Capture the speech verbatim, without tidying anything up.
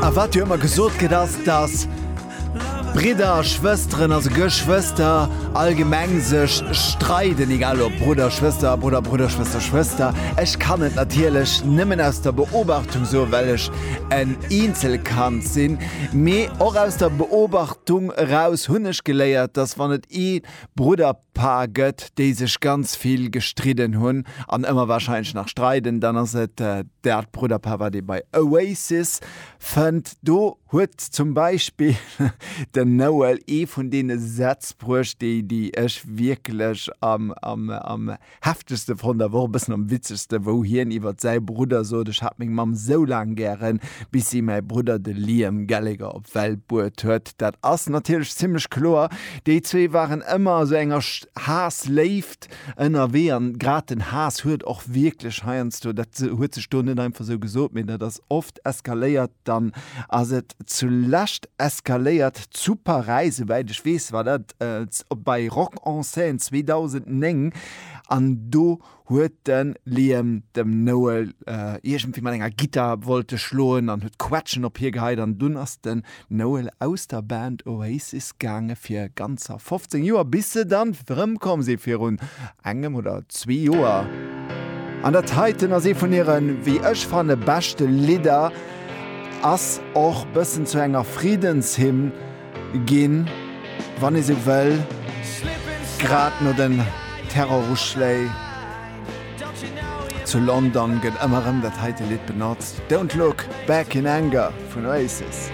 A wat jo ëmmer gesot gëtt ass, dass Bridder a Schwësteren, also Geschwëster allgemeng sech streiden, egal ob Brudder, Schwëster, Brudder, Brudder, Schwëster, Schwëster. Ech kann et natierlech nëmmen aus der Beobachtung soen, well ech en Eenzelkand sinn, mee och aus der Beobachtung eraus hunn ech geléiert, dass wann et ee Brudderpaar gëtt, déi sech ganz vill gestridden hunn an ëmmer warscheinlech nach streiden, dann ass et dat Brudderpaar, wat ee bei Oasis fënnt. Do huet zum Beispill den Noel ee vun deene Sätz bruecht, déi déi ech wierklech am am am heftegste fonnt, awer och e bëssen am witzegste, wou hien iwwert säi Brudder sot, Ech hat meng Mamm sou laang gären, bis si mäi Brudder, de Liam Gallagher, op d'Welt bruet huet. Dat ass natierlech zimmlech kloer. Déi zwee waren ëmmer a sou enger Haass-Léift ënnerwee an grad den Haass huet och wierklech heiansdo, dat huet sech do net einfach sou gesot, mee dat ass oft eskaléiert, dann ass et zulescht eskaléiert zu Paräis, souwäit ech weess war dat bei Rock en Seine zweedausendnéng an do huet de Liam dem Noel iergendwéi mat enger Gittar wollte schloen an huet Quetschen op hie geheit an dunn ass den Noel aus der Band Oasis gaange fir ganzer fofzéng Joer, bis se dann erëmkomm si virun engem oder zwee Joer. An dat heiten ass ee vun hiren, wéi ech fanne, beschte Lidder, ass och bëssen zu enger Friddenshymn ginn, wann ee sou wëll, grad no den Terroruschléi zu London gëtt ëmmer erëm dat heite Lidd benotzt, Don't Look Back in Anger vun Oasis.